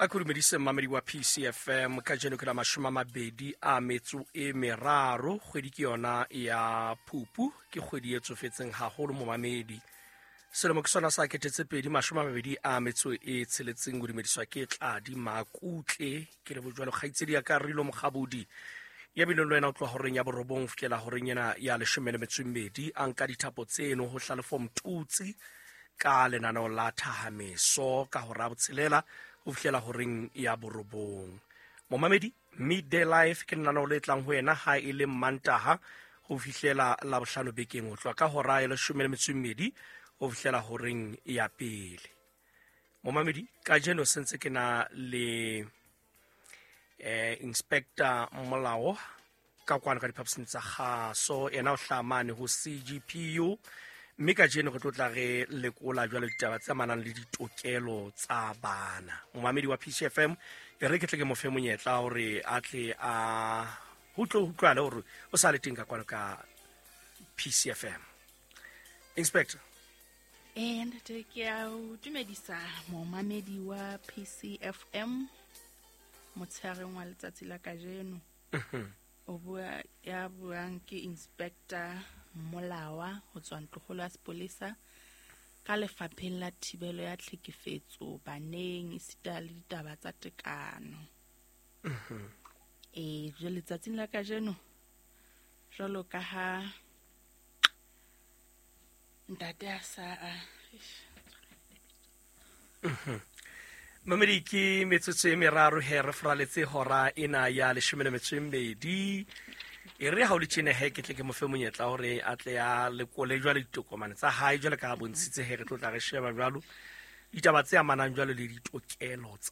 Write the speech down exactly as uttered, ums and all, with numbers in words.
A ke dumedise mmamedi wa P C F M. Kajeno ke la mashome a mabedi a metso e meraro, kgwedi ke yona ya Phupu, ke kgwedi e tsofetseng haholo, momamedi. Selemo ke sona sa kete tse pedi mashome a mabedi a metso e tsheletseng. O dumediswa ke Tladi Makutle, ke le bojwalo kgaitsedi ya ka Rilo Mokgabodi ya bileng le wena o tloha horeng ya borobong ho fihlela horeng ena ya leshome le metso e mmedi, a nka dithapo tseno ho Hlalefo Mtutsi ka lenaneo la Thahameso ka hora ya botshelela ho fihlela horeng ya borobong. Momamedi, Midday Life ke lenaneo le tlang ho wena ha e le Mantaha ho fihlela Labohlano bekeng, ho tloha ka hora ya leshome le metso e mmedi ho fihlela horeng ya pele. Momamedi, kajeno sentse ke na le eh Inspector Molao ka kwano ka diphaposing tsa kgaso. Ena o hlaha mane ho C G P U, mme kajeno re tlo tla re lekola jwalo ditaba tse amanang le ditokelo tsa bana. Momamedi wa P C F M, e re ke tle ke mo fe monyetla hore a tle a ho tlo utlwale hore o sa le teng ka kwano ka P C F M. Inspector. Ee ntate, ke a o dumedisa, momamedi wa P C F M, motshegareng wa letsatsi la kajeno. O bua ya buang ke Inspector Molawa ho tswa Ntlokgolo ya Sepolesa ka Lefapheng la Thibelo ya Tlhekefetso Baneng esita le Ditaba tsa Tekano. Ee, jwale letsatsing la kajeno, jwalo ka ha ntate a sa a Mamedi, ke metsotso e meraro he re foraletse hora ena ya leshome le metso e mmedi. E re ha o le tjena he, ke tle ke mo fe monyetla hore a tle a lekole jwale ditokomane tsa hae, jwale ka ha bontshitse he re tlo tla re sheba jwalo ditaba tse amanang jwalo le ditokelo tsa